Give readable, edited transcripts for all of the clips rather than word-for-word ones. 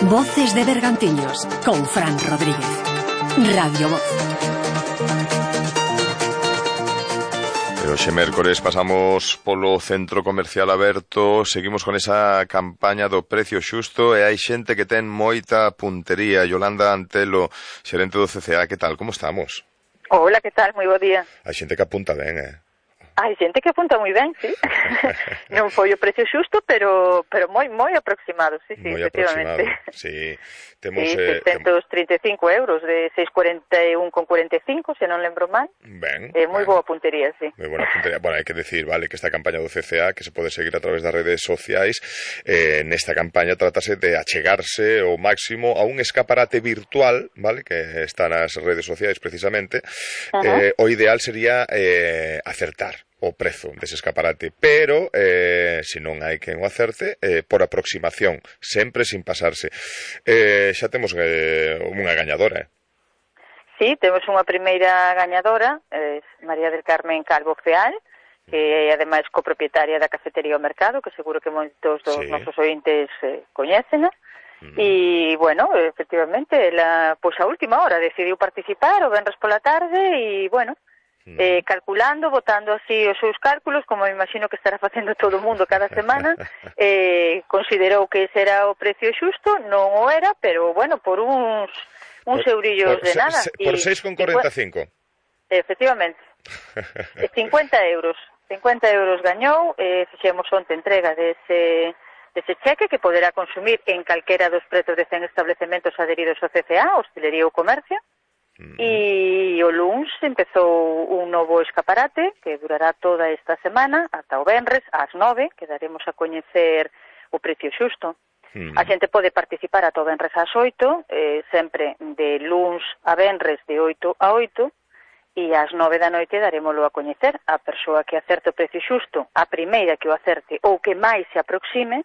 Voces de Bergantiños con Fran Rodríguez. Radio Voz. E hoxe mércores pasamos polo Centro Comercial Aberto, seguimos con esa campaña do precio xusto e hai xente que ten moita puntería. Yolanda Antelo, xerente do CCA, que tal, como estamos? Hola, que tal? Moi bo día. Hai xente que apunta ben, Hai xente que apunta moi ben, sí. Non foi o precio xusto, pero moi aproximado, sí, moi efectivamente. Aproximado, sí. Temos, sí, 635 euros de 641,45, se non lembro mal. Ben. Moi boa puntería, sí. Moi boa puntería. Bueno, hai que decir, vale, que esta campaña do CCA, que se pode seguir a través das redes sociais, nesta campaña trátase de achegarse ao máximo a un escaparate virtual, vale, que está nas redes sociais precisamente. O ideal sería acertar o prezo dese escaparate, pero se non hai quen o acerte, por aproximación, sempre sin pasarse. Xa temos unha gañadora, Sí, temos unha primeira gañadora, María del Carmen Calvo Feal, que é ademais copropietaria da cafetería O Mercado, que seguro que moitos dos nosos ointes coñecen. E, bueno, efectivamente, ela, pois a última hora decidiu participar o venres pola tarde e, bueno, calculando, botando así os seus cálculos, como me imagino que estará facendo todo o mundo cada semana, considerou que ese era o precio xusto, non o era, pero, bueno, por uns eurillos de nada. Por 6,45. Efectivamente. 50 euros. 50 euros gañou, fixemos onte entrega dese cheque que poderá consumir en calquera dos pretos de 100 establecementos adheridos ao CCA, hostelería ou comercio. E o luns empezou un novo escaparate que durará toda esta semana ata o venres ás 9, que daremos a coñecer o precio xusto. A xente pode participar ata o venres ás 8, sempre de luns a venres de 8 a 8, e ás 9 da noite darémoslo a coñecer. A persoa que acerte o precio xusto, a primeira que o acerte ou que máis se aproxime,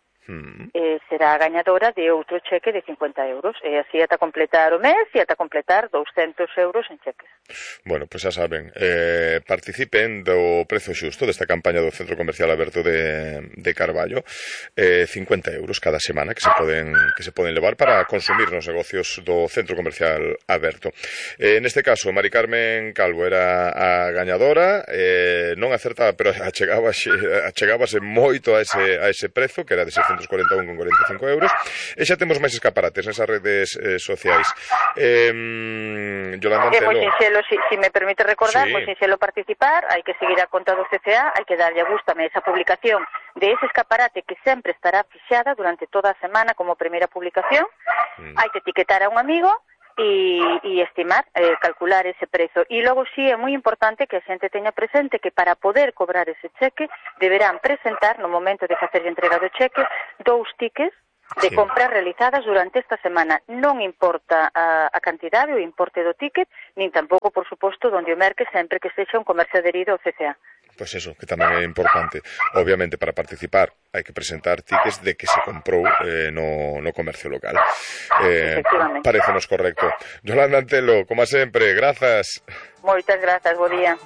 será a gañadora de outro cheque de 50 euros, e así ata completar o mes e ata completar 200 euros en cheques. Bueno, pois xa saben, participen do prezo xusto desta campaña do Centro Comercial Aberto de Carballo, 50 euros cada semana que se poden levar para consumir nos negocios do Centro Comercial Aberto. Neste caso, Mari Carmen Calvo era a gañadora, non acertaba, pero achegábase moito a ese prezo, que era de 641,45 euros, e xa temos máis escaparates nesas redes sociais. Yolanda Antelo. Moi sinxelo, si me permite recordar, moi sinxelo participar, hai que seguir a conta do CCA, hai que darlle a gústame esa publicación de ese escaparate que sempre estará fixada durante toda a semana como primeira publicación, hai que etiquetar a un amigo e estimar, calcular ese prezo. E logo sí é moi importante que a xente teña presente que para poder cobrar ese cheque deberán presentar no momento de facer a entrega do cheque 2 tickets de compras realizadas durante esta semana. Non importa a cantidade ou importe do ticket, nin tampouco, por suposto, donde o merque sempre que sexa un comercio adherido ao CCA. Pois eso, que tamén é importante. Obviamente, para participar hai que presentar tickets de que se comprou no comercio local. Parécenos correcto. Yolanda Antelo, como sempre, grazas. Moitas grazas, bo día.